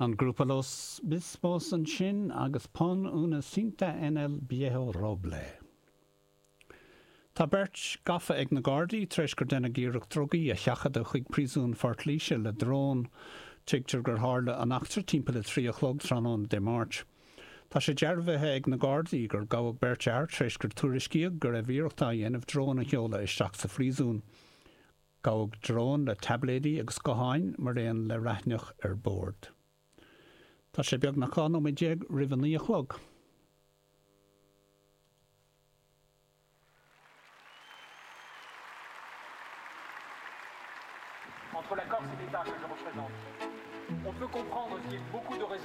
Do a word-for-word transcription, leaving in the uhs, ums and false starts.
An grúpa Los Mismos ansin agus Pon una cinta en el viejo roble. Tá beirt gafa ag na Gardaí tar éis gur deineadh iarracht drugaí a sheachadadh chuig príosún Phort Laoise le drón. Tuigtear gur tharla an eachtra timpeall a trí a chlog tráthnóna Dé Máirt. Tá sé dearbhaithe ag na Gardaí gur gabhadh beirt fhear tar éis gur tuairiscíodh go raibh iarracht á dhéanamh drón a sheoladh isteach sa phríosún. Gabhadh drón le taibléidí agus gutháin mar aon le raithneach ar bord. Tá sé beagnach dhá nóiméad déag roimh a naoi a chlog. Entre la Corse et l'État que je représente. On peut comprendre qu'il y ait beaucoup de raisons